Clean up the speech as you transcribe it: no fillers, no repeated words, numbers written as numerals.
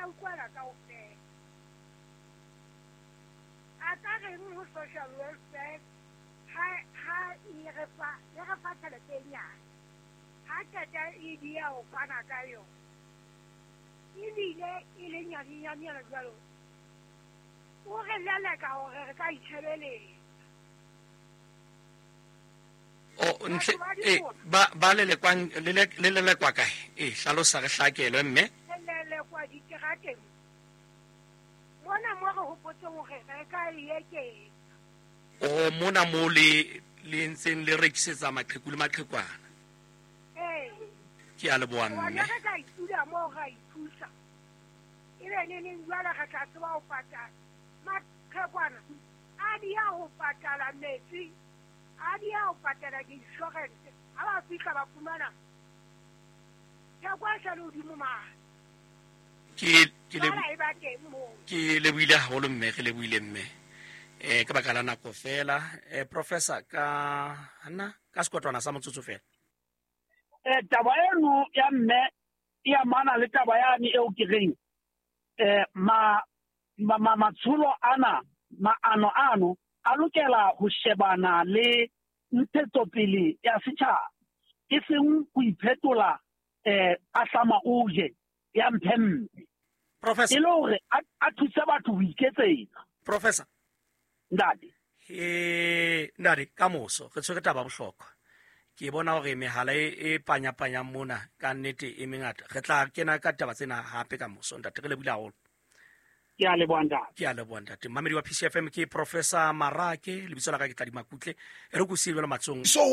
ya utlwela kaofela. A ka reng ho social welfare ha e re fa e re fa tjhelete e nyane, ha qeta e dia ho fana ka yona, ebile e le nyanenyane jwalo, o re leleka hore re ka itshebeletsa. O ntle e ba lelekwang le lelekwa kae? E hlalosa re hlakelwe mme. Re lelekwa diterateng mona mo re hopotseng hore re ka e eketsa. O mona mo le le ntseng le rekisetsa maqheku le maqhekwana. Ee. Ke a leboha mme. Hobane re ka itula moo ra ithusa. Ebe neneng jwale re tla tseba ho patala. Maqhekwana a dia ho patala metsi, a dia ho patala di-insurance. Ha ba fihla ba fumana theko e sa le hodimo mane. Ke ke le Jwale e ba teng moo. Ke lebohile haholo mme, re lebohile mme. Ka baka la nako fela, professor ka nna ka sekotwana sa motsotso fela. Taba eno ya mme e amana le taba yane eo ke reng ma ma matsholo ana, maano ano a lokela ho shebana le ntshetsopele ya setjhaba, e seng ho iphetola ahlama o je ya mphempe. Professor. E le hore a thuse batho ho iketsetsa. Professor. Ntate. Ntate, ka moso re tshwere taba bohlokwa. Ke bona hore mehala e panyapanyang mona ka nnete e mengata. Re tla kena ka taba tsena hape ka moso ntate, re lebohile haholo. Ke a leboha ntate. Ke a leboha ntate. Mmamedi wa PCFM ke Professor Marake, lebitso la ka ke Tladi Makutle. E re ko siye jwalo matsong. So